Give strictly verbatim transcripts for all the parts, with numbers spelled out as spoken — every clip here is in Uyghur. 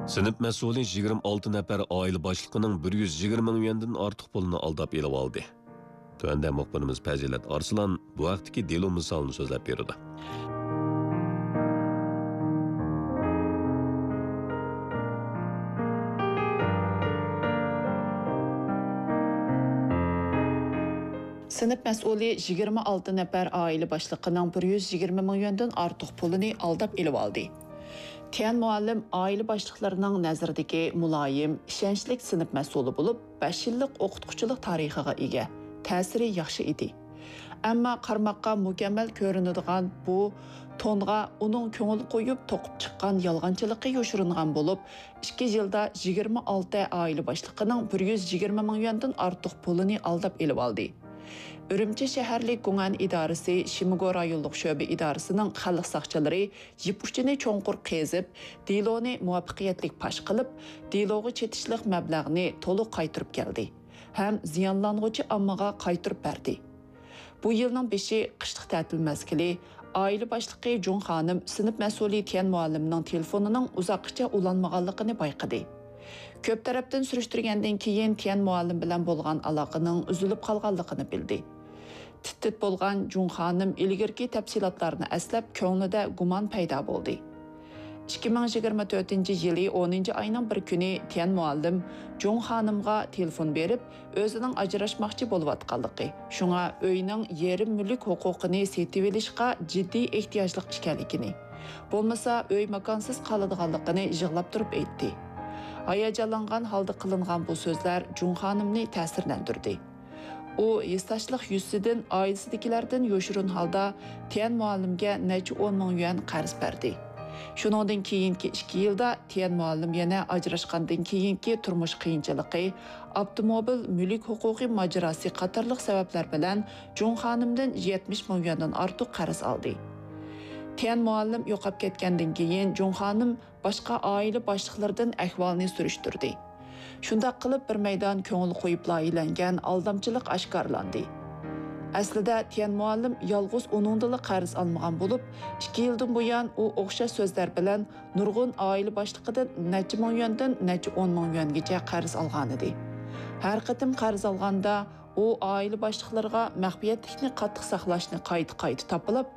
سىنىپ مەسئۇلى يىگىرمە ئالتە نەپەر ئائىلە باشلىقىنىڭ بىر يۈز يىگىرمە مىڭ يۈەندىن ئارتۇق پۇلىنى ئالداپ ئېلىۋالدى. تۆۋەندە مۇخبىرىمىز پەزىلەت ئارسلان بۇ ھەقتىكى دېلو مىسالىنى سۆزلەپ بېرىدۇ. سىنىپ مەسئۇلى يىگىرمە ئالتە نەپەر ئائىلە باشلىقىنىڭ بىر يۈز يىگىرمە مىڭ يۈەندىن ئارتۇق پۇلىنى ئالداپ ئېلىۋالدى. تيەن مۇئەللىم ئائىلە باشلىقلىرىنىڭ نەزىرىدىكى مۇلايىم، ئىشەنچلىك سىنىپ مەسئۇلى بولۇپ، بەش يىللىق ئوقۇتقۇچىلىق تارىخىغا ئىگە، تەسىرى ياخشى ئىدى. ئەمما قارىماققا مۇكەممەل كۆرۈنىدىغان بۇ تونغا ئۇنىڭ كۆڭۈل قويۇپ توقۇپ چىققان يالغانچىلىقى يوشۇرۇنغان بولۇپ، ئىككى يىلدا يىگىرمە ئالتە ئائىلە باشلىقىنىڭ بىر يۈز يىگىرمە مىڭ يۈەندىن ئارتۇق پۇلىنى ئالداپ ئېلىۋالدى. ئۈرۈمچى شەھەرلىك گۇڭئەن ئىدارىسى شىمگو رايونلۇق شۆبە ئىدارىسىنىڭ خەلق ساقچىلىرى يىپ ئۇچىنى چوڭقۇر قېزىپ، دېلونى مۇۋەپپەقىيەتلىك پاش قىلىپ، دېلوغا چېتىشلىق مەبلەغنى تولۇق قايتۇرۇپ كەلدى ھەم زىيانلانغۇچى ئاممىغا قايتۇرۇپ بەردى. بۇ يىلنىڭ بېشى، قىشلىق تەتىل مەزگىلى، ئائىلە باشلىقى جۇڭ خانىم سىنىپ مەسئۇلى تيەن مۇئەللىمنىڭ تېلېفونىنىڭ ئۇزاققىچە ئۇلانمىغانلىقىنى بايقىدى. كۆپ تەرەپتىن سۈرۈشتۈرگەندىن كېيىن، تيەن مۇئەللىم بىلەن بولغان ئالاقىنىڭ ئۈزۈلۈپ قالغانلىقىنى بىلدى. تىت-تىت بولغان جۇڭ خانىم ئىلگىرىكى تەپسىلاتلارنى ئەسلەپ، كۆڭلىدە گۇمان پەيدا بولدى. ئىككى مىڭ يىگىرمە تۆتىنچى يىلى ئونىنچى ئاينىڭ بىر كۈنى تيەن مۇئەللىم جۇڭ خانىمغا تېلېفون بېرىپ، ئۆزىنىڭ ئاجراشماقچى بولۇۋاتقانلىقى، شۇڭا ئۆينىڭ يېرىم مۈلۈك ھوقۇقىنى سېتىۋېلىشقا جىددىي ئېھتىياجلىق ئىكەنلىكىنى، بولمىسا ئۆي ماكانسىز قالىدىغانلىقىنى يىغلاپ تۇرۇپ ئېيتتى. ھاياجانلانغان ھالدا قىلىنغان بۇ سۆزلەر جۇڭ خانىمنى تەسىرلەندۈردى. ئۇ ھېسداشلىق يۈزىسىدىن ئائىلىسىدىكىلەردىن يوشۇرۇن ھالدا تيەن مۇئەللىمگە نەچچە ئون مىڭ يۈەن قەرز بەردى. شۇنىڭدىن كېيىنكى ئىككى يىلدا تيەن مۇئەللىم يەنە ئاجراشقاندىن كېيىنكى تۇرمۇش قىيىنچىلىقى، ئاپتوموبىل مۈلۈك ھوقۇقى ماجىراسى قاتارلىق سەۋەبلەر بىلەن جۇڭ خانىمدىن يەتمىش مىڭ يۈەندىن ئارتۇق قەرز ئالدى. تيەن مۇئەللىم يوقاپ كەتكەندىن كېيىن، جۇڭ خانىم باشقا ئائىلە باشلىقلىرىدىن ئەھۋالنى سۈرۈشتۈردى. شۇنداق قىلىپ، بىر مەيدان كۆڭۈل قويۇپ لايىھەلەنگەن ئالدامچىلىق ئاشكارىلاندى. ئەسلىدە، تيەن مۇئەللىم يالغۇز ئۇنىڭدىنلا قەرز ئالمىغان بولۇپ، ئىككى يىلدىن بۇيان ئۇ ئوخشاش سۆزلەر بىلەن نۇرغۇن ئائىلە باشلىقىدىن نەچچە مىڭ يۈەندىن نەچچە ئون مىڭ يۈەنگىچە قەرز ئالغانىدى. ھەر قېتىم قەرز ئالغاندا، ئۇ ئائىلە باشلىقلىرىغا مەخپىيەتلىكنى قاتتىق ساقلاشنى قايتا-قايتا تاپىلاپ،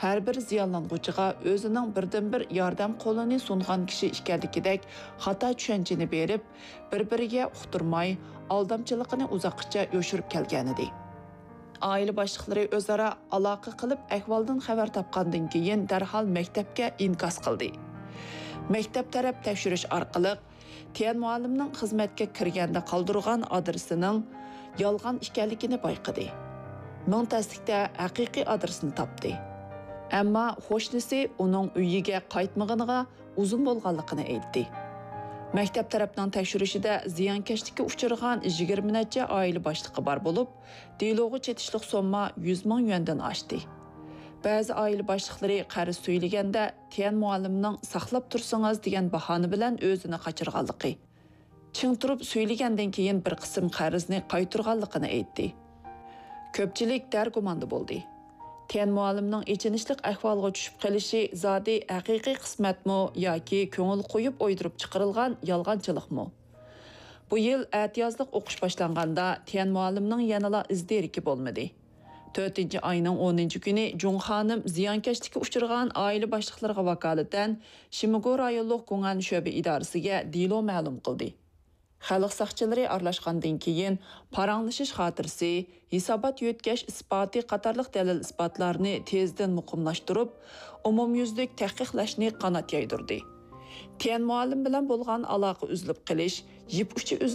ھەر بىر زىيانلانغۇچىغا ئۆزىنىڭ بىردىنبىر ياردەم قولىنى سۇنغان كىشى ئىكەنلىكىدەك خاتا چۈشەنچىنى بېرىپ، بىر-بىرىگە ئۇقتۇرماي، ئالدامچىلىقىنى ئۇزاققىچە يوشۇرۇپ كەلگەنىدى. ئائىلە باشلىقلىرى ئۆزئارا ئالاقە قىلىپ، ئەھۋالدىن خەۋەر تاپقاندىن كېيىن، دەرھال مەكتەپكە ئىنكاس قىلدى. مەكتەپ تەرەپ تەكشۈرۈش ئارقىلىق، تيەن مۇئەللىمنىڭ خىزمەتكە كىرگەندە قالدۇرغان ئادرېسىنىڭ يالغان ئىكەنلىكىنى بايقىدى. مىڭ تەسلىكتە ھەقىقىي ئادرېسنى تاپتى. ئەمما قوشنىسى ئۇنىڭ ئۆيىگە قايتمىغىنىغا ئۇزۇن بولغانلىقىنى ئېيتتى. مەكتەپ تەرەپنىڭ تەكشۈرۈشىدە زىيانكەشلىككە ئۇچرىغان يىگىرمە نەچچە ئائىلە باشلىقى بار بولۇپ، دېلوغا چېتىشلىق سومما يۈز مىڭ يۈەندىن ئاشتى. بەزى ئائىلە باشلىقلىرى قەرز سۈيلىگەندە، تيەن مۇئەللىمنىڭ «ساقلاپ تۇرسىڭىز» دېگەن باھانە بىلەن ئۆزىنى قاچۇرغانلىقى، چىڭ تۇرۇپ سۈيلىگەندىن كېيىن بىر قىسىم قەرزنى قايتۇرغانلىقىنى ئېيتتى. كۆپچىلىك دەرگۇماندا بولدى. تيەن مۇئەللىمنىڭ ئېچىنىشلىق ئەھۋالغا چۈشۈپ قېلىشى زادى ھەقىقىي قىسمەتمۇ ياكى كۆڭۈل قويۇپ ئويدۇرۇپ چىقىرىلغان يالغانچىلىقمۇ؟ بۇ يىل ئەتىيازلىق ئوقۇش باشلانغاندا، تيەن مۇئەللىمنىڭ يەنىلا ئىز دېرىكى بولمىدى. تۆتىنچى ئاينىڭ ئونىنچى كۈنى جۇڭ خانىم زىيانكەشلىككە ئۇچرىغان ئائىلە باشلىقلىرىغا ۋاكالىتەن شىمگو رايونلۇق گۇڭئەن شۆبە ئىدارىسىگە دېلو مەلۇم قىلدى. خەلق ساقچىلىرى ئارىلاشقاندىن كېيىن، پاراڭلىشىش خاتىرىسى، ھېسابات يۆتكەش ئىسپاتى قاتارلىق دەلىل-ئىسپاتلارنى تېزدىن مۇقىملاشتۇرۇپ، ئومۇميۈزلۈك تەھقىقلەشنى قانات يايدۇردى. تيەن مۇئەللىم بىلەن بولغان ئالاقە ئۈزۈلۈپ قېلىش، يىپ ئۇچى ئۈزۈلۈپ